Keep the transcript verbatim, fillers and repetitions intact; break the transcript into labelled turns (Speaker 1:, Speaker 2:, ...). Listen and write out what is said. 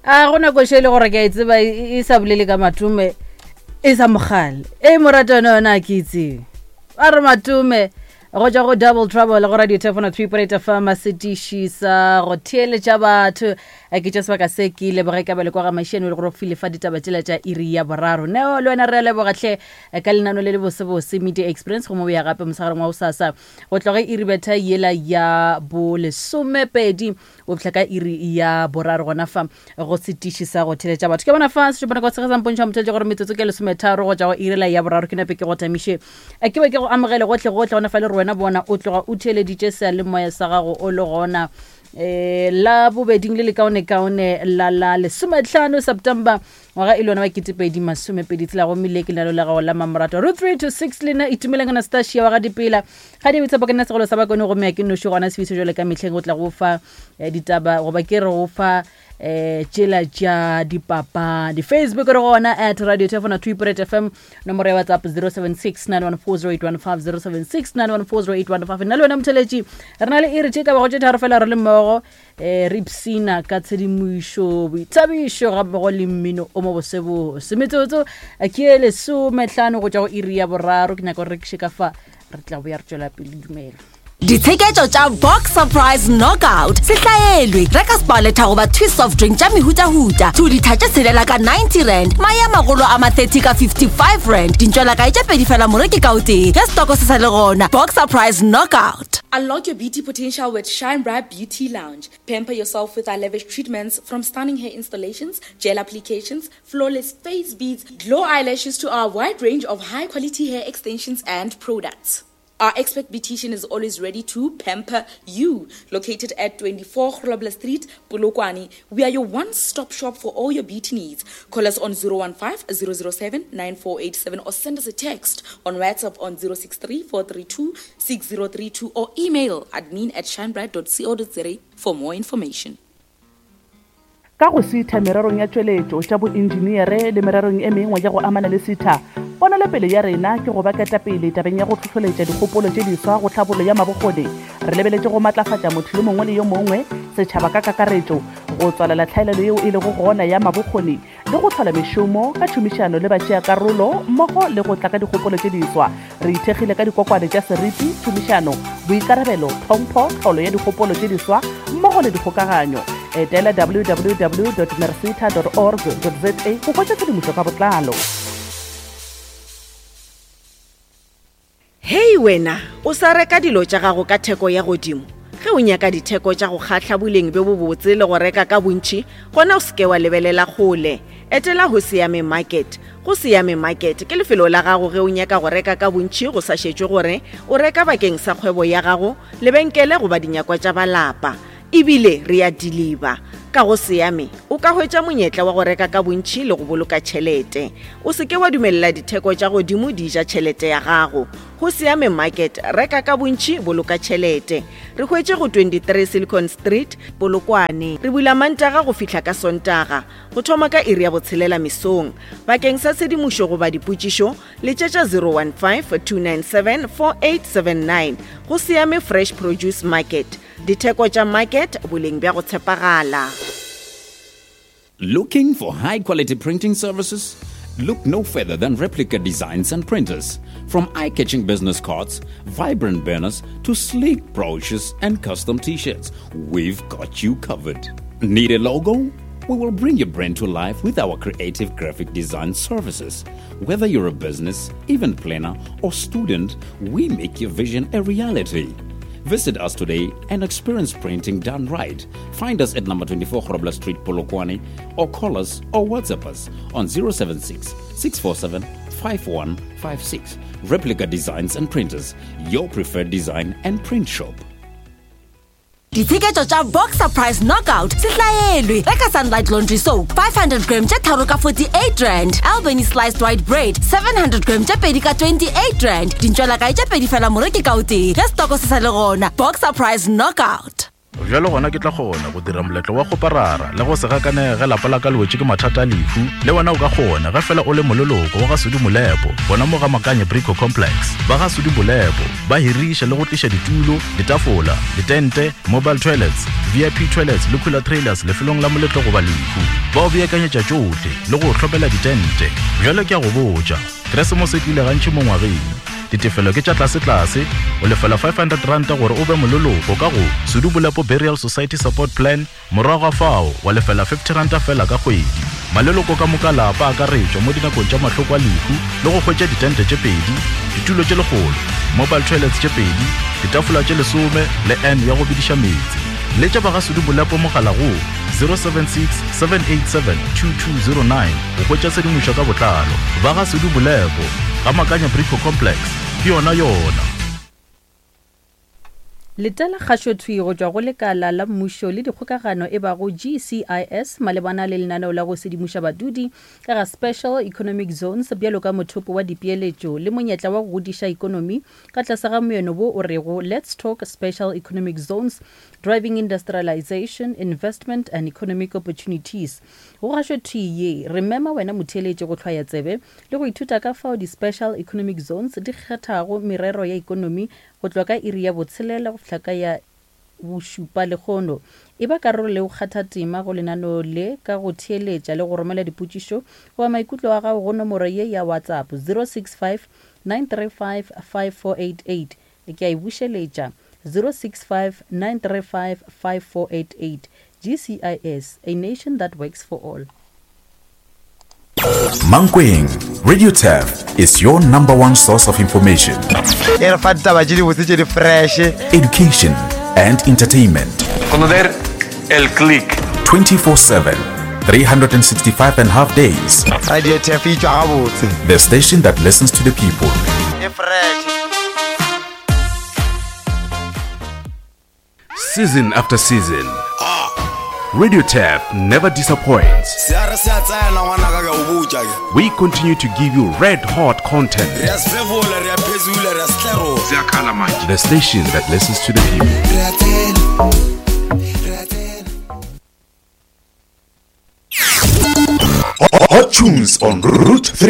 Speaker 1: A go nako še e le gore ke a e tseba e e sa bolele ka Matome e sa mogale e morata yone yona a ke e tsebe. A re Matome go tšwa go Double Trouble go Radio Telefono three point eight F M, setiši sa go theeletša batho. A ke tša sebaka se ke leboge ka bele kwa ga Maišane le gore file fa ditaba tšela tša iri ya boraro. Neo le wena re a leboga hle ka lenano le le bosebose Media Experience go mo boya gape mosegareng wa bosasa go tloge iri betha yela ya bolesomepedi o fihla ka iri ya boraro gona fa go setiši sa go theletša batho. Ke bona fa sešupana kwa sege sa mpontšha motheletše gore metsotso ke lesometharo go tša go irela ya boraro. Ke nape ke go tamiše, ke be ke go amogele gotlhe gotlhe gona fa le re wena bona o tloga o theeleditše seyalemoya sa gago o le gona um la bobeding le lekaonekaone la la lesometlhano September ngwaga e le yona wa ketepedi masomepedi tsela, gomme le ke lenalo la gago la mamorato ro three to six. Lena itumeleng Anastasia wa ga dipela ga di boitshepo ke nna segolo sa bakone, gomme a ke noši gona sefiso jale ka mehleng go tla go fa eh, ditaba goba ke re go fa eh tšela tša dipapadi. Facebook re gona at Radio Telefono two point F M, nomoro ya WhatsApp zero seven six nine one four zero eight one five, zero seven six nine one four zero eight one five. Nna le wena motheletši re na le iri tše ka bago tše tharo fela re le mmogo, um re ipsina ka tshedimošo, boithabišo ga mmogo le mmino o mo bosebose. Metsotso ke e lesometlhano go tšwa go iri ya boraro. Ke nyaka gore rekiše ka fa re tla boya re tšwela pele. Dumela.
Speaker 2: Ditsheketšo tša Box Surprise Knockout se hlaelwe. Reka Sparletta goba Twist soft drink tša mehutahuta two litha tše tshelela ka ninety rand, mae a magolo a ma thirty ka fifty-five rand, dintšwelakae tše pedi fela moreki ka o tee ge setoko se sa le gona. Box Surprise Knockout.
Speaker 3: Unlock your beauty potential with Shine Bright Beauty Lounge. Pamper yourself with our lavish treatments, from stunning hair installations, gel applications, flawless face beads, glow eyelashes to our wide range of high quality hair extensions and products. Our expert beautician is always ready to pamper you. Located at twenty-four Grobler Street, Polokwane, we are your one-stop shop for all your beauty needs. Call us on zero one five zero zero seven nine four eight seven or send us a text on WhatsApp on zero six three four three two six zero three two or email admin at shinebright dot co dot za for more information.
Speaker 4: Ka go SETA mererong ya tšweletšo, tša boentšeneere le mererong e mengwe ya go amana le SETA, ponelopele ya rena ke go ba ketapele tabeng ya go hlohloletša dikgopolo tše diswa go tlhabollo ya mabokgoni. Re lebeletše go matlafatša motho yo mongwe le yo mongwe, setšhaba ka kakaretšo, go tswalela tlhaelelo yeo e lego gona ya mabokgoni le go hlola mešomo ka tšhomišano le batšeakarolo mmogo le go tla ka dikgopolo tše diswa. Re ithekgile ka dikokwane tša seriti, tšhomišano, boikarabelo, tlhompho, tlholo ya dikgopolo tše diswa mmogo le dikgokaganyo. Etela W W W merseta org za go hwetša tshedimošo ka botlalo.
Speaker 5: Hei wena, o sa reka dilo tša gago ka theko ya godimo? Ge o nyaka ditheko tša go kgahla, boleng bjo bobotse le go reka ka bontši, gona o seke wa lebelela kgole. Etela Go Siame Market. Go Siame Market ke lefelo la gago ge o nyaka go reka ka bontši, go sa šetšwe gore o reka bakeng sa kgwebo ya gago, lebenkele goba dinyakwa tša balapa. Ebile re ya deliver. Ka Go Siame o ka hwetša monyetla wa go reka ka bontši le go boloka tšhelete. O seke wa dumelela ditheko tša godimo di ja tšhelete ya gago. Go Siame Market, reka ka bontši, boloka tšhelete. Re hwetše go twenty-three Silicon Street, Polokwane. Re bula Mantaga go fihla ka Sontaga go thoma ka iri ya botshelela mesong. Bakeng sa tshedimošo goba dipotšišo, letšetša zero one five two nine seven four eight seven nine. Go Siame Fresh Produce Market, ditheko tša market, boleng bja go tshepagala.
Speaker 6: Looking for high quality printing services? Look no further than Replica Designs and Printers. From eye catching business cards, vibrant banners, to sleek brochures and custom t shirts, we've got you covered. Need a logo? We will bring your brand to life with our creative graphic design services. Whether you're a business, event planner, or student, we make your vision a reality. Visit us today and experience printing done right. Find us at number twenty-four Grobler Street, Polokwane, or call us or WhatsApp us on zero seven six six four seven five one five six. Replica Designs and Printers, your preferred design and print shop.
Speaker 2: Ditsheketšo tša Box Surprise Knockout se hlaelwe. Reka Sunlight Laundry Soap five hundred gram tše tharo ka forty-eight rand, Albany Sliced White Bread seven hundred gram tše pedi ka twenty-eight rand, dintšwelakae tše pedi fela moreki ka o tee ge setoko se sa le gona. Box Surprise Knockout.
Speaker 7: Bjalo gona ke tla kgona go dira moletlo wa kgoparara le go se gakanege ge lapa la ka le wetše ke mathata a lehu. Le wena o ka kgona ge fela o le moleloko wa ga Sudi Molepo gona mo ga Makanye Brico Complex. Ba ga Sudi Molepo ba hiriša le go tliša ditulo, ditafola, ditente, mobile toilets, V I P toilets le cooler trailers lefelong la moletlo goba lehu. Ba o beakanyetša tšohle le go hlopela ditente. Bjalo ke a go botša, Keresemose e tlile gantši mo ngwageng. Ditefelo ke tša tlase-tlase, o lefela five hundred ranta gore o be moleloko ka go Sudi Molepo Burial Society Support Plan, morago ga fao wa lefela fifty ranta fela ka kgwedi. Maleloko ka moka lapa a akaretšwa mo dinakong tša mahloko a lehu le go hwetša ditente tše pedi, ditulo tše lekgolo, mobile toilets tše pedi, ditafola tše lesome le N ya go bediša meetse. Letša ba ga Sudi Molepo mogala go zero seven six seven eight seven two two zero nine go hwetša tshedimošo ka botlalo. Ba ga Sudi Molepo ga Makanya Brico Complex ke yona yona.
Speaker 1: Letela kgašothwi go tšwa go lekala la mmušo le dikgokagano e bago G C I S malebana le lenaneo la go sedimoša badudi ka ga Special Economic Zones bjalo ka mothopo wa dipeeletšo le monyetla wa go godiša ikonomi ka tlase ga moeno wo o rego Let's Talk Special Economic Zones Driving Industrialization, Investment and Economic Opportunities. Go gašothwi ye re mema wena motheeletši go hlwaya tsebe le go ithuta ka fao di-Special Economic Zones di kgethago merero ya ikonomi go tloga ka iri ya botshelela go fihla ka ya bošupa lekgono. E ba karolo le go kgatha tema go lenaneo le ka go theeletša le go romela dipotšišo goba maikutlo a gago go nomoro ye ya WhatsApp zero six five nine three five five four eight eight. Ke a e bušeletša zero six five nine three five five four eight eight. G C I S, a nation that works for all.
Speaker 8: Mankweng, Radio Turf is your number one source of information, education, and entertainment.
Speaker 9: El click.
Speaker 8: twenty-four seven, three hundred sixty-five and a half days.
Speaker 10: Radio Turf e tšwa gabotse.
Speaker 8: The station that listens to the people.
Speaker 9: Season after season, Radio Turf never disappoints. We continue to give you red hot content. The station that listens to the people.
Speaker 8: Hot tunes on Route three.